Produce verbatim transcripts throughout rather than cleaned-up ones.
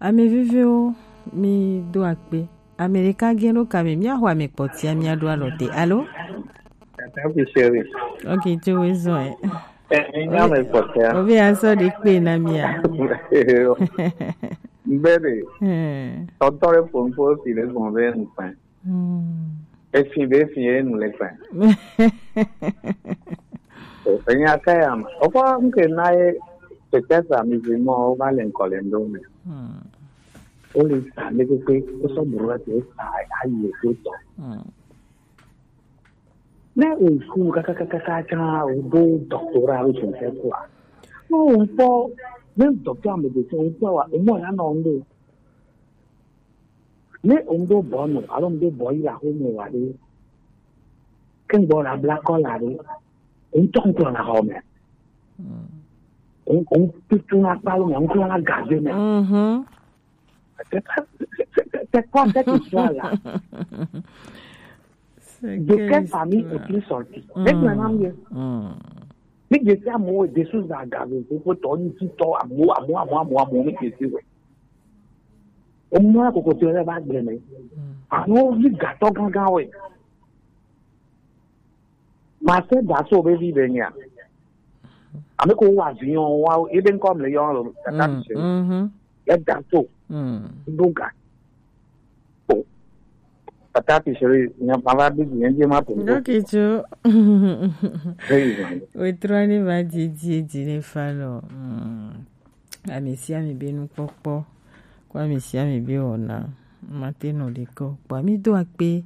Ame viviwo, mi do akpe. Ame ɖeka gẽ ɖo kame, míaxɔ ame kpɔtia, míaɖo alɔ te. Alo? Tata fi chéri. Ok, tso wo zɔ ɛ. Eh, mi nya ame kpɔtia. Obe asɔ ɖe kpe na mia. Bebe. Eh. Tɔtɔ ɖe ƒo nuƒo si ɖe gbɔn be nukpɛn. Hmm. Efi be efi ye nu le kpɛn. Enya ka ya ma. Ofa nke na ye peut-être amusement o va le nkɔle ndo me. Hmm. O le sa le kpekpe, o sɔ buru la te sa ayi e to tɔ. Hmm. Ne o su kakakaka can o do doctorat o je ne sais quoi. No o n kpɔ, ne doctorat me de o n kpɔ wa, o mɔ ya nɔ ndo. Ne o n do bɔ nu, alo n do bɔ yi la ko mo wa de. Ke n gbɔ la bla kɔ la de. O n tɔ n kplɔ na xɔ me. Mm. O n, o n tutu na kpalo me, o n kplɔ na gaze me. Mhm. C'est pas, c'est, c'est, c'est, c'est quoi cette histoire-là? De quelle famille es-tu sorti? Maintenant, mieux. Mi je sais amowo de sous la gavé, c'est pour ton petit temps, amowo, amowo, amowo, amowo, amowo, mi je sais, ouais. O mɔ la kokoti lɛ va gblẽ mɛ. Amowo vi gatɔ gangan, ouais. Ma se da so be vi be nya. Ame ko wa avion wa, ebe nkɔ mle yɔ lo, tata mi se. Mhm. Ya da so. Mm. Donka. O. Tata ti sere, nya ma va bi, nya je ma po. Ok, tso. Hey, man. We trɔ ne va di, di, di ne fa lɔ. Mm. Ame sia ame be nukpɔkpɔ, kple ame sia ame be wɔna. Mate nɔ ɖe kɔ. Kpɔ mi do akpe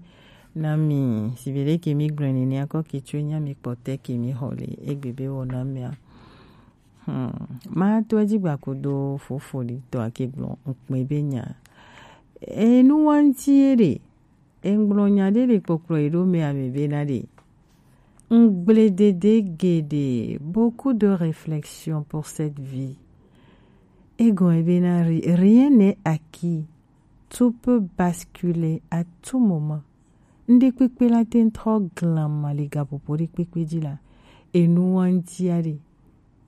na mi, si be ɖe ke mi gblɔ nene akɔ ke tso nya mi kpɔtɛ ke mi xɔ le egbe be wɔna mea. Hmm. Ma to edzi gba kudo fofo ɖi tɔ ake gblɔ ŋkpɛ be nya. Enu wa ŋti ye ɖe. Engblɔ nya ɖe le kpɔkplɔ yi ɖo mɛ ame be na ɖe. Ŋgble dede geɖe, beaucoup de réflexion pour cette vie. Egɔn ebe na ri-, rien n'est acquis. Tout peut basculer à tout moment. Ŋɖe kpekpe la te ŋtrɔ glama le gaƒoƒo ɖe kpekpe dzi la. Enu wa ŋtia ɖe.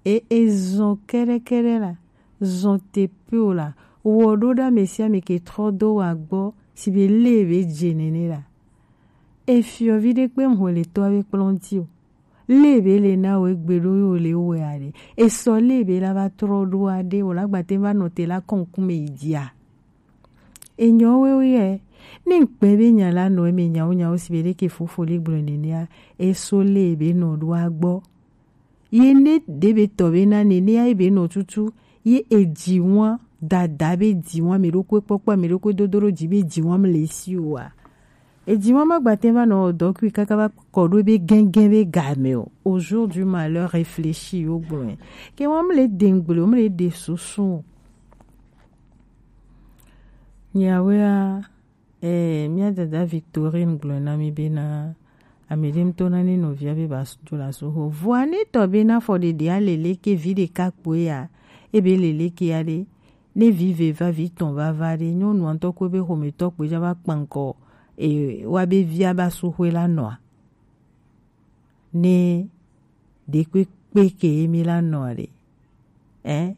E, e zɔn kɛɖɛkɛɖɛ la, zɔn te pe o la, wɔ ɖo ɖa ame sia ame ke trɔ do wa gbɔ, si be le be dze nene la. E fiɔ vi ɖe kpe ŋhɔ le tɔ be kplɔn ti o. Le be le na wo egbe ɖo yo le wo ya ɖe. E sɔ le be la va trɔ ɖo aɖe o la gbate va nɔ te la kɔn kume yi dia. Enyɔ wewe yɛ, ne ŋkpɛ be nya la nɔ eme nyawo nyawo si be ɖe ke fofo le gblɔ nenea, e so le be nɔ ɖo agbɔ. Ye ne ɖe be tɔ be na nene ya ye be nɔ tutu, ye edzi wa, dada be dzi wa, mi ɖokui kpɔkpɔ, mi ɖokui dodo ɖo dzi be dzi wa mi le si o wa. Edzi wa ma gbate va nɔ dɔ kui kaka va kɔ ɖo be gɛngɛn be game o. Au jour du malheur, réfléchis yo gblɔe. Ke wa mi le de ŋgble o, mi le de susu o. Nyawea, Eh, mía dada Victorine gblɔe na mí bena, ame ɖe ŋutɔ na ne nɔvia be ba s-, dzo le asuho. Vɔa ne tɔ bena fɔ ɖeɖe a lele ke vi ɖeka kpoe ya, ebe lele ke ya ɖe, ne vi ve va vi tɔn va va ɖe, nyɔnua ŋutɔ kpoe be xometɔ kpoe dza va kpa ŋkɔ, e, wa be via ba suhoe la nɔa. Ne ɖekpekpe ke ye mi la nɔa ɖe. Ɛ?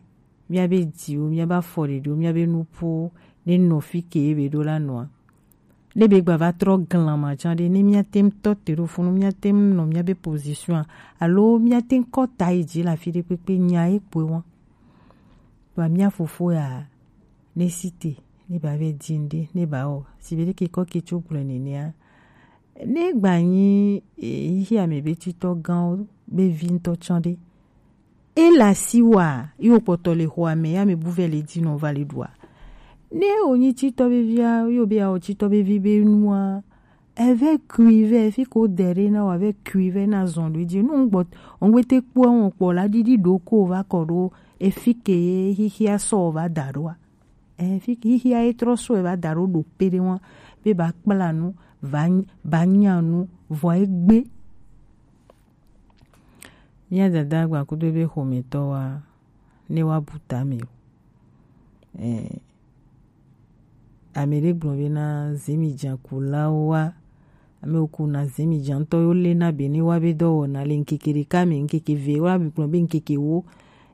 Míabe dziwo, míabe afɔɖeɖewo, míabe nuƒowo, ne nɔ fi ke ye be ɖo la nɔa. Ne be gba va trɔ glama tsã ɖe, ne míate ŋu tɔ te ɖo funu, míate ŋu nɔ míabe position a, alo míate ŋu kɔ ta yi dzi le afi ɖe kpekpe, nya ye kpoe wa. Vɔa mía fofo ya, ne si te, ne ba be di ŋɖe, ne ba wɔ, si be ɖe ke kɔ ke tso gblɔe nenea, Ne gba nyi, e, xixi ame be titɔ gãwo be vi ŋutɔ tsã ɖe. E le asi wa, ye wo kpɔtɔ le xɔa me, ye ame bu vɛ le dzi nɔ va le ɖua. Ne wo nyi titɔ be via, ye wo be ya wɔ titɔ be vi be nua, eve kui vɛ, fi ko de ɖe na wa ve kui vɛ na zɔn ɖo dzi. Nu ŋgbɔ, ŋgbete kpɔ ŋu kpɔ la ɖiɖi ɖo ko va kɔ ɖo, efi ke ye xixia sɔ va da ɖoa. Eh, fi-, xixia ye trɔ sɔe va da ɖo ɖo kpe ɖe ŋua, be ba kpla nu, va ny-, ba nya nu, vɔ egbe. Mía dada gba kudo be xometɔ wa, ne wa bu tame o. Eh, ame ɖe gblɔ be na zemi dza kulawo wa, ame wo ku na zemi dza ŋutɔ yo le na be ne wa be dɔwɔna le ŋkeke ɖeka me, ŋkeke ve wa be gblɔ be ŋkeke wo,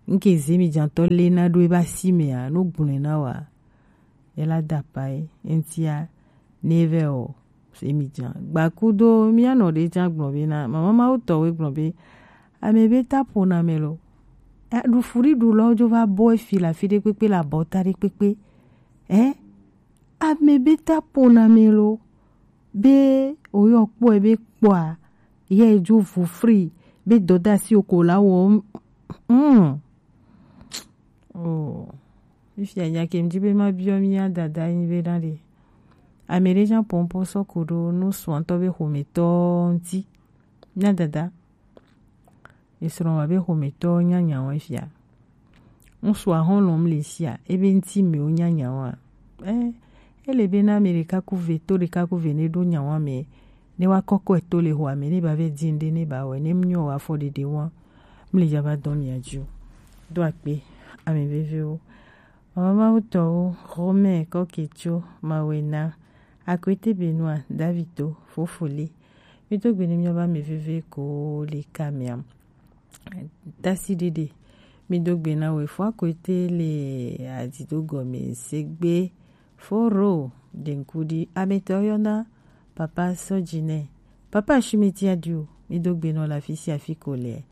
ŋke zemi dza ŋutɔ le na ɖo eba si mea, no gblɔe na wa. Ela da pa ye, eŋtia, neve o, se mi jan. Gba kudo, mi anɔ ɖe jan gblɔ be na, mama Mawu tɔ we gblɔ be, ame be ta ƒo na me lo. E, ɖu fu ɖi ɖu lɔ dzo va bɔ efi le afi ɖe kpekpe le abɔta ɖe kpekpe. E, ame be ta ƒo na me lo. Be oyɔ kpɔe be kpɔa, ye dzo vo fri, be dɔdasi o ko la wɔ, mm. Oh. Fifia nya ke ŋdi be ma biɔ mia dada nyi be na ɖe. Ame ɖe nya pɔnpɔn sɔ ko ɖo nu suantɔ be xometɔ ŋti. Mia dada. Esrɔ̃ wa be xometɔ nya nya wa fia. Ŋsu ahɔn lɔm le sia, ebe ŋti me wo nya nya wa. Eh, ele be na ame ɖeka ku ve, to ɖeka ku ve ne ɖo nya wa me. Ne wa kɔkɔe to le xɔa me, ne ba vɛ di ŋɖe ne ba wɛ, ne mnyɔ wa afɔ ɖeɖe wa. Mle dza va dɔ mia dzi o. Do akpe, ame veviwo. Mama Mawu tɔwo, Romain Kɔketso, Mawena, Akwete Benoit, Davito, Fofoli. Mi do gbe ne mia ba ame veve ko le ka mia. Tasi ɖeɖe. Mi do gbe na we fo Akwete le adido gɔme segbe. Foro, Denkudi, ametɔ yɔna, papa Sɔdzinɛ, papa Shimiti Adio, mi do gbe nɔ le afi sia afi ko le.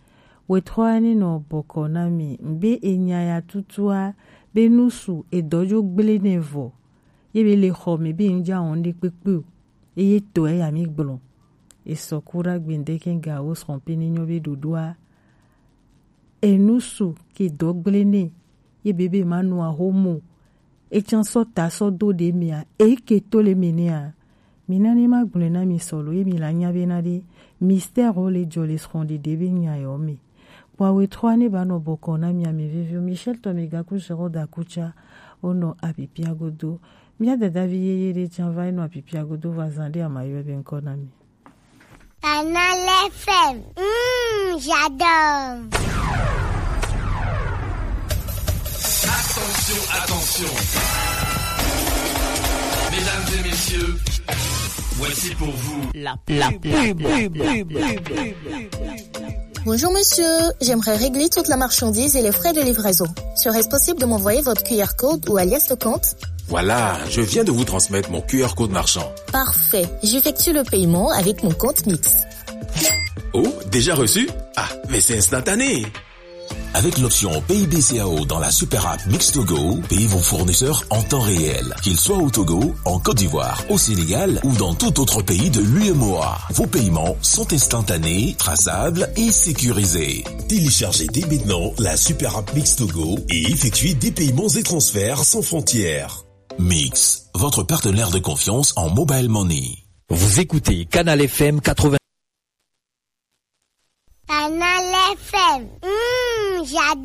Wetrɔa ne nɔ bɔkɔ na mi, ŋbe enya ya tutua, be nusu edɔ dzo gble nɛ vɔ, ye be le xɔ me be ŋdza wɔn ɖe kpekpe o, eye tɔe ya mi gblɔ. Esɔ kura gbendeke ga wo srɔ̃ pe ne nyɔ be ɖoɖoa. Enu su ke dɔ gble nɛ, ye bebe ma nu ahomo. Etsan sɔ ta sɔ do ɖe mia, e ke to le me nɛa. Mi na ne ma gblɔe na mi sɔlo, ye mi la nya be na ɖe, mystère o le dzɔ le srɔ̃ɖeɖe be nya yɔ me. Kpɔ awe trɔ ne ba nɔ bɔkɔ na mi ame veviwo, Michel tɔ mi gaku zero da kutsa, o nɔ apipia godo. Mia dadavi yeye ɖe tsan va nɔ apipia godo va zan ɖe ama yɔ be ŋkɔ na mi. Canal F M. Mmh, j'adore. Attention, attention. Mesdames et messieurs, voici pour vous la, la pub. Bonjour monsieur, j'aimerais régler toute la marchandise et les frais de livraison. Serait-ce possible de m'envoyer votre Q R code ou alias le compte ? Voilà, je viens de vous transmettre mon Q R code marchand. Parfait, j'effectue le paiement avec mon compte Mix. Oh, déjà reçu ? Ah, mais c'est instantané ! Avec l'option Pay B C A O dans la super app Mix to Go, payez vos fournisseurs en temps réel, qu'ils soient au Togo, en Côte d'Ivoire, au Sénégal ou dans tout autre pays de l'U M O A. Vos paiements sont instantanés, traçables et sécurisés. Téléchargez dès maintenant la super app Mix to Go et effectuez des paiements et transferts sans frontières. Mix, votre partenaire de confiance en mobile money. Vous écoutez Canal F M quatre-vingts. Canal F M. Mmh, j'adore.